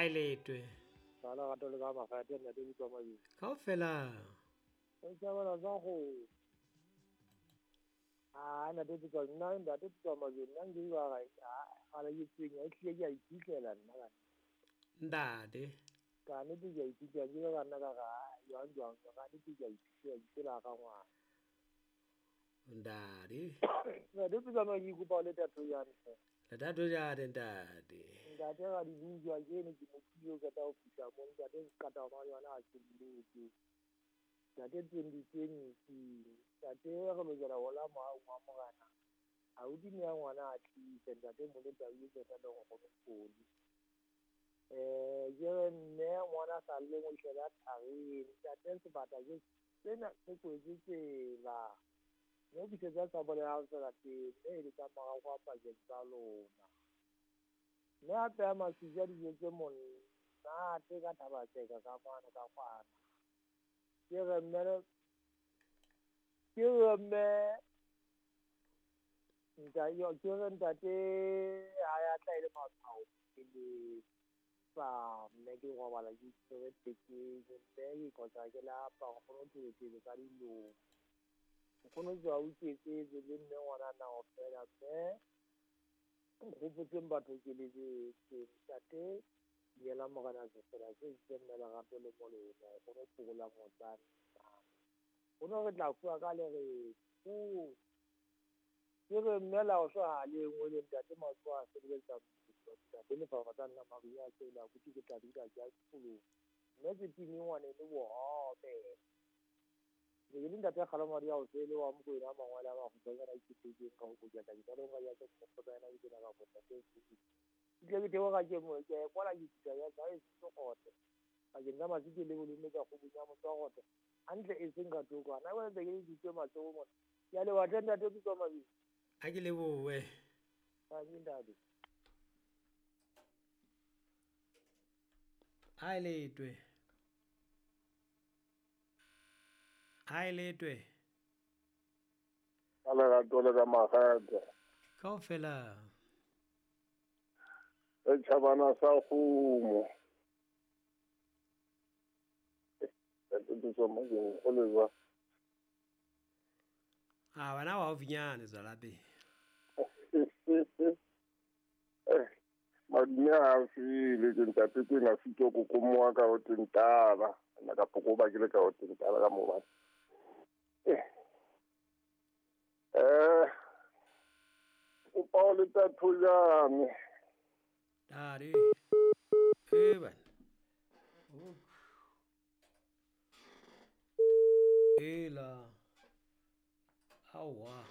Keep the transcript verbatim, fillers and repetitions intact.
A letwe. Sala gato le ka magate ntate Putswa Mabedi. Kaofela. O tsabana tsa go. Ah ntate Putswa nna ntate Putswa Mabedi nna ke ba ga ga la ke tsenya e tlile ke a iphitlhela nna ka. Ntate. Ka ne ke a iphitlhela ke ba nna ka ga jwang jwang ka ne ke a iphitlhela ke la ga ngwana. Ntate. Ntate Putswa Mabedi kopa le tatho ya ntle. Letato jare ntate. Ntate ga di bujwa ke ne ke motho ka ta o fihla mo ntate ka ta ma yona a ke diletse. Ntate twenty twenty ntate re lokela ho la mo wa morana. A o di ne ngwana a tlise ntate mo le tau e tseta le go go poli. Eh ke re mme ngwana sa le mo tlela thareng ntate sebata ke tsena se kwetse tsela. Mme ke tsa bole ha tsela teng e le tsa mara kwa pakeng tsa lona. Mme a peha maswitsi dijo tse monate ka Thaba-Tseka ka kwana ka kwana. Ke re mme ke re mme ntate ke re ntate ha ya tla ile matshwao ke le sa mme ke robala ke tshwere tekeng mme ke kgotsa ke lapa go kgone ho tsweletse ka dilo. Nkgono tswa o iketsetse le mme ngwana na o fela mme nkgopotseng batho ke leletse ntate yela morena se fela se itse mme lerato le molemo nkgono phokola motsana. Nkgono re tla fuwa ka le re fu ke re mme la o hlwa le nngwe le ntate matsoho a sebeletsa ntate lefapha tsa nna maruo a tsela abuti ke tla dula ke ya sekolong mme se timi ngwane le bohobe. Ke le ntate Kgalomadi ya o sele wa Mokwena a mangwele a makgutshwanyane a ikgethetseng ka ho boketa ditalong ka ya tsa mokgotsa ke tsena ka ntate ke tle ke theoga ke mo ke kwala ke fihla ya tsa e se pakeng tsa Matsike le bolome ka kgobong ya motswagote hantle e seng ka thoko ana ba ntse ke ditse matsoho mona. Ke a leboha hle ntate Putswa Mabedi. A ke lebohe. Tanki ntate. A letwe. A letwe. Ka lerato le ka magata. Kaofela. E tšhabana sa kgomo. Ntate Putswa Mabedi go le jwang? A wena wa haufinyane tswela pele. Eh madume a file ke ntate Kwena fito kokomoa ka ho tentala nna ka poko ba ke le ka ho tentala ka mo batla. Eh eh kopa o le tatho jame. Ntate. Eh bana. Ela. Aowa.